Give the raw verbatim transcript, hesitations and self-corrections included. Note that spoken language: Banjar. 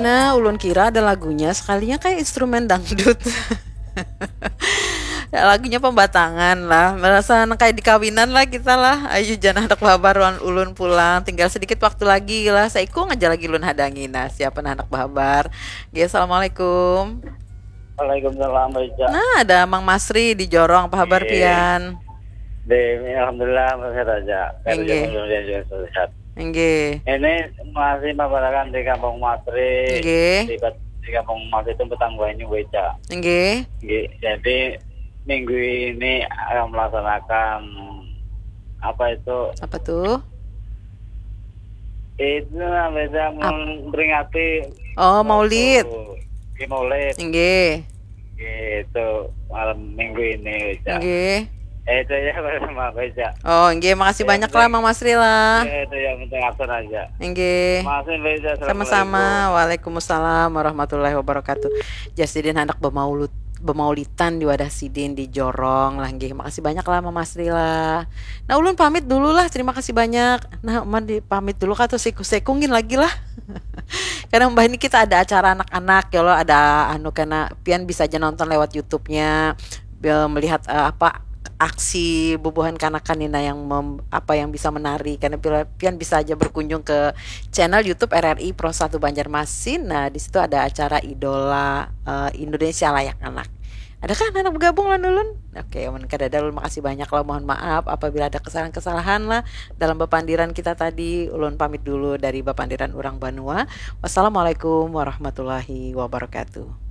Nah, ulun kira ada lagunya, sekalinya kayak instrumen dangdut. Ya, lagunya pembatangan lah, merasa nang kayak di kawinan lah kita lah. Ayu jan handak bahabar wan ulun pulang, tinggal sedikit waktu lagi lah, saikung aja lagi ulun hadangi. Nah, siapa nah handak bahabar? Oke, assalamualaikum. Waalaikumsalam, Mbak Ica. Nah, ada Mang Masri di Jorong, apa habar Iya. Pian? Di, alhamdulillah, sehat aja. Inggih. Kemudian juga sehat. Inggih. Ini masih mabarakan di Kampung Masri. Inggih. Di, di Kampung Masri itu petang banyu, Mbak Ica. Inggih. Inggih. Jadi minggu ini akan melaksanakan apa itu? Apa tuh? Itu namanya memperingati Oh, Maulid. Di Maulid. Inggih. Itu malam minggu ini, Mbak Ica. Inggih. Eh, itu ya, bersama Mbak Ica. Oh, inggih, makasih Ya, banyak betul. Lah Mang Masri lah. Ya, itu yang penting absen aja. Inggih. Makasih, Mbak Ica. Sama-sama. Waalaikumsalam warahmatullahi wabarakatuh. Jar sidin handak bemaulut bemaulitan di wadah sidin di Jorong lah, nggih. Makasih banyak lah Mang Masri lah. Nah, ulun pamit dulu lah. Terima kasih banyak. Nah, man di pamit dulu kah tuh siku sekungin lagi lah. Karena mbah ini kita ada acara anak-anak ya lo, ada anu, karena pian bisa aja nonton lewat YouTube-nya, be- melihat eh, apa aksi bubuhan kanakan ini, nah, yang mem- apa yang bisa menari, karena pila- pian bisa aja berkunjung ke channel YouTube R R I Pro satu Banjarmasin. Nah, di situ ada acara Idola eh, Indonesia Layak Anak. Adakah anak bergabung lawan ulun? Oke, mun kadada ulun makasih banyak lah. Mohon maaf apabila ada kesalahan-kesalahan lah dalam bepandiran kita tadi. Ulun pamit dulu dari bepandiran urang banua. Wassalamualaikum warahmatullahi wabarakatuh.